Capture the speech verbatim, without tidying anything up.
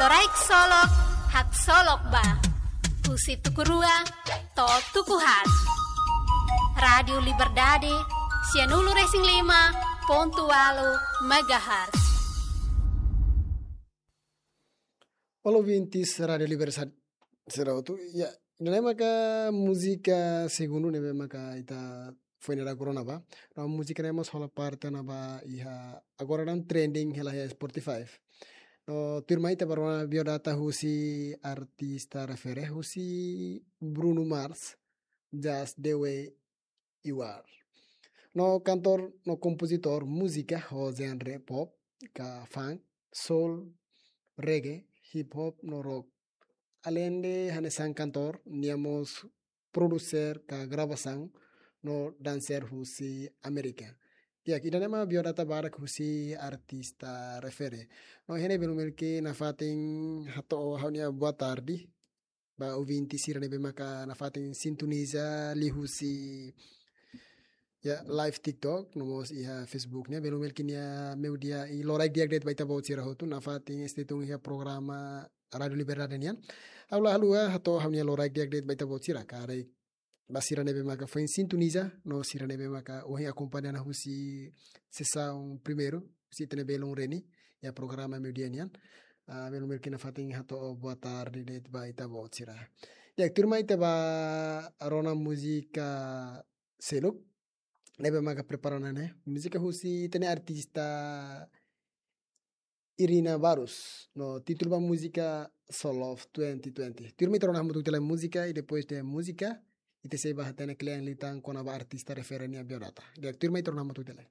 Loraik Solok, haksolok ba. Husi tuku rua to'o tuku haat. Rádiu Liberdade, sianulu-resin-lima pontu ualu megahertz. Halo ouvintes Rádiu Liberdade sira hotu. Ya, ida-ne'e maka múzika segundu ne'ebé maka ita foin daudaun rona ba. No múzika ne'e mós hola parte ona ba iha agora daudaun trending hela iha Spotify. No tuirmai ita bá rona biodata husi artista refere husi Bruno Mars, Just the Way You Are. No kantór no kompozitór múzika ho genre pop, ka funk, soul, reggae, hip hop no rock. Aleinde hanesan kantór, nia mós produser ka gravasaun no danser husi Amérika. Ya, ida-ne'e mak biodata badak husi artista refere. No iha ne'e belun Melki nafatin hato'o ha'u-nia boa tarde ba ouvinte sira ne'ebé maka nafatin sintoniza liuhusi, ya, live TikTok, no mós iha Facebook nian. Belun Melki nia meudia i loraik di'ak de'it ba ita-boot sira hotu nafatin este tun iha programa Rádiu Liberdade nian. Ha'u la haluha hato'o ha'u-nia loraik di'ak de'it ba ita-boot sira karik ba sira ne'ebé maka foin sintoniza, no sira ne'ebé maka ohin akompaña ona husi sesaun primeiru, husi ita-nia belun Reni, iha programa meudia nian. Ah, belun Melki nafatin hato'o boa tarde de'it ba ita-boot sira. Ya, tuirmai ita bá rona múzika seluk ne'ebé maka prepara ona ne'e. Múzika husi ita-nia artista Irina Barros. No títulu ba múzika So Love twenty twenty. Tuirmai ita rona hamutuk tiha lai múzika i depois de múzika ita sei bá hatene kle'an liután kona-ba artista refere nia biodata. Di'ak, tuirmai ita rona hamutuk tiha lai.